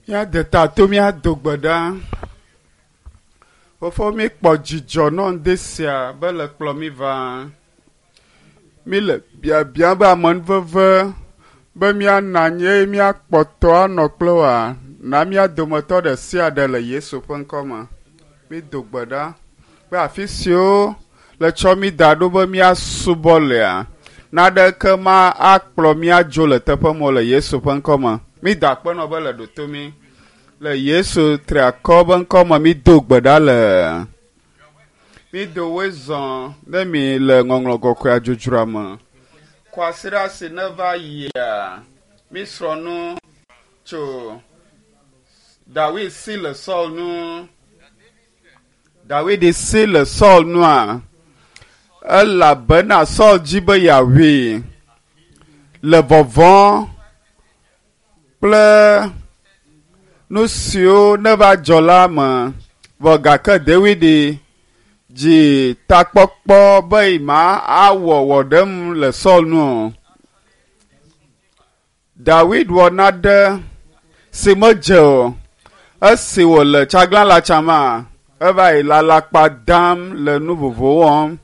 Míade ta to míado gbe ɖa. Fofo míkpɔ dzidzɔ nɔ ŋdi sia be le kplɔ mí va. Míle biabiam be amenuveve be míanɔ anyi eye míakpɔtɔ anɔ kple woa, na mía dometɔ ɖe sia ɖe le Yesu ƒe ŋkɔ me. Mído gbe ɖa be afi siwo le tsɔ mí da ɖo be míasubɔ lea, naɖeke ma akplɔ mía dzo le teƒe ma o le Yesu ƒe ŋkɔ me. Mída akpe nɔ be le ɖo mí. Le Yesu triakɔ be ŋkɔ me mído gbe ɖa le. Mído woe zɔ ne mi le ŋɔŋlɔ kɔkɔea dzodzroa me. Kwasiɖa si neva yia, mísrɔ̃ nu tso Dawid si le Saul nu. Dawid si le Saul nua, elabena Saul dzi be yeawui le vɔvɔ̃ kple nu siwo neva dzɔ la me. Vɔ gake Dawid dzi takpɔkpɔ be ma awɔ wɔɖem le Saul nu o. Dawid wɔ nane si medze o. Esi wòle tsaglãla tsama, eva yi le alakpa dam le nu vovovowo wɔm.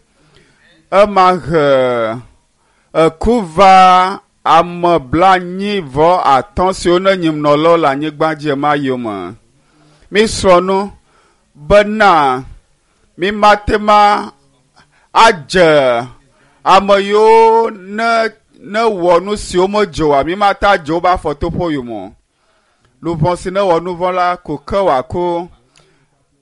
Ema he eku va ame 45 siwo ne nyimnɔlawo le anyigba dzi ema yome. Mísrɔ̃ nu bena mímate ma adze ame yiwo ne ne wɔ nu siwo medze oa, mímate adze woƒe afɔtoƒe yome o. Luʋɔ si ne wɔ nu vɔ̃ la, ko ke wòaku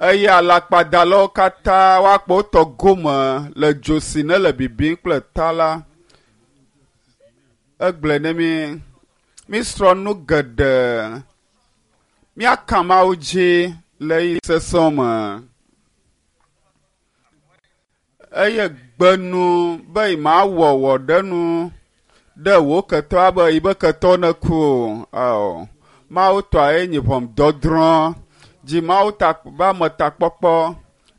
eye alakpadalawo katã woakpɔ wotɔ gome le dzo si ne le bibim kple ta la. Egblɔe ne mí. Mísrɔ̃ nu geɖe. Míaka Mawu dzi le ɣeyiɣi sesẽwo me. Eye gbe nu be mawɔ wɔɖenu ɖe wò ketɔ abe yibe ketɔ neku o. Ao. Mawu tɔa ye nyi ʋɔnudɔdrɔ̃. Dzi Mawu ta be ametakpɔkpɔ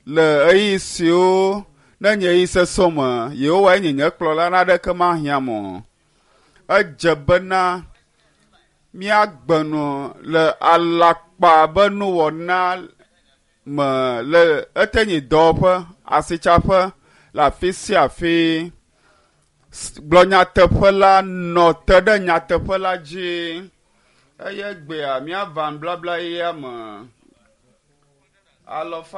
le ɣeyiɣi siwo ne nye ɣeyiɣi sesẽwo me. Yehowa ye nye nye kplɔla naneke mahiãm o. Edze bena míagbe nu le alakpa be nuwɔna me le ete nyi dɔwɔƒe, asitsaƒe, le afi sia afi. Gblɔ nyateƒe la, nɔ te ɖe nyateƒe la dzi. Eye gbea míava nublabla yeyea me. Alɔfa.